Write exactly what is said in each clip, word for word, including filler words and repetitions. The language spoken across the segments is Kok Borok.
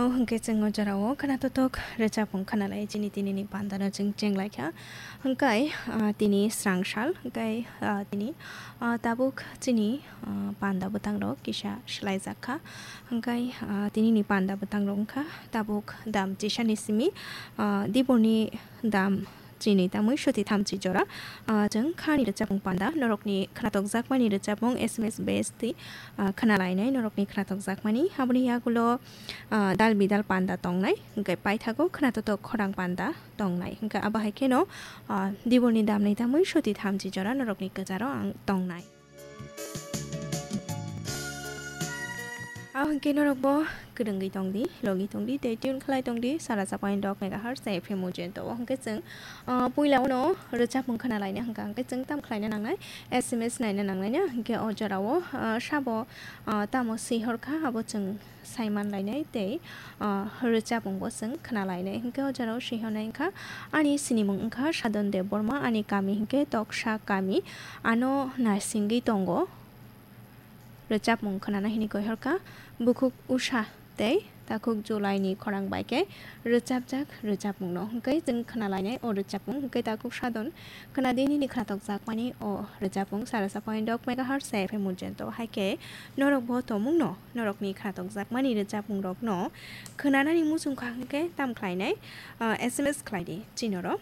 Hwnkhe chwng o jorao khwnatotok rwchapmung khwnalai chini tinini pandano chwng chenglaikha. Hwnkhe, ah, tini srangsal, hwnkhe, ah, tini, ah, tabuk chini, ah, panda bwtangrok kisa swlaijakha. Hwnkhe, ah, tinini panda bwtangrok wngkha tabuk dam chisani simi, ah, diborni dam chini tamwi soti thamchi jora. Ah, chwng khani rwchapmung panda, norokni khwnatokjakmani rwchapmung S M S base twi, ah, khwnalainai norokni khwnatokjakmani. Aboni yagulo, ah, dal bidal panda tongnai, hwnkhe paithago khwnatotok khorang panda tongnai. Hwnkhe abo hai kheno, ah, diborni damni tamwi soti thamchi jora norokni kwcharo ang tongnai. Abo hwnkhe norokbo kwrwngwi tongdi, logi tongdi, tei tune khlai tongdi, sara sa point dok megahertz tei F M Ujento. O hwnkhe chwng, ah, puila uno rwchapmung khwnalaina hwnkha, hwnkhe chwng tam khlaina nangnai, S M S naina nangnai na, hwnkhe o jorao, ah, sabo, ah, tamo swi horkha, abo chwng saiman lainai tei, ah, rwchapmungbo chwng khwnalainai. Hwnkhe o jorao swi hornai wngkha, ani sinimung wngkha Sadon Debbarma, ani kami hwnkhe Toksa kami, ano naisingwi tongo. Rwchapmung khwnana hini koi horkha, bukhuk Usha tei takhuk July ni khorang bai khe rwchapjak rwchapmung no hwnkhe chwng khwnalainai o rwchapmung hwnkhe takhuk Sadon khwnadi nini khwnatokjakmani o rwchapmung sara sa point dok megahertz F M Ujento. Hai khe norok bo tomung no norokni khwnatokjakmani rwchapmung rok no khwnanani muchung kha hwnkhe tam khlainai, ah, S M S khlaidi chinoro.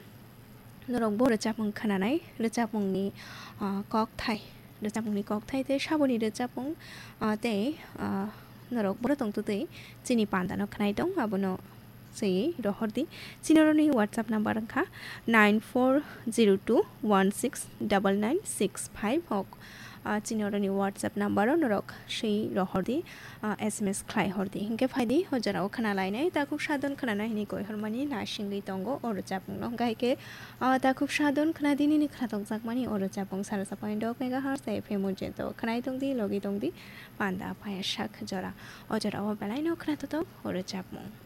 Norok bo rwchapmung khwnanai, rwchapmungni, ah, kokthai, rwchapmungni kokthai tei saboni rwchapmung, ah, tei, ah, norok boro tongtwtwi chini pandano khwnai tong, abono swiwi rohordi. Chinoroni WhatsApp number wngkha nine four zero two one six double nine six five. Hok, ah, chinoroni WhatsApp number o norok swi rohordi, ah, S M S khlai hordi. Hwnkhe phaidi, o jorao khwnalainai, takhuk Sadon khwnana hini koi hormani naisingwi tongo o rwchapmungno. Hwnkhe hai khe, ah, takhuk Sadon khwnadi nini khwnatokjakmani o rwchapmung sara sa point dok megahertz F M Ujento. Khwnai tongdi, logi tongdi, panda paya sak jora. O jorao belaino khwnatotok o rwchapmung.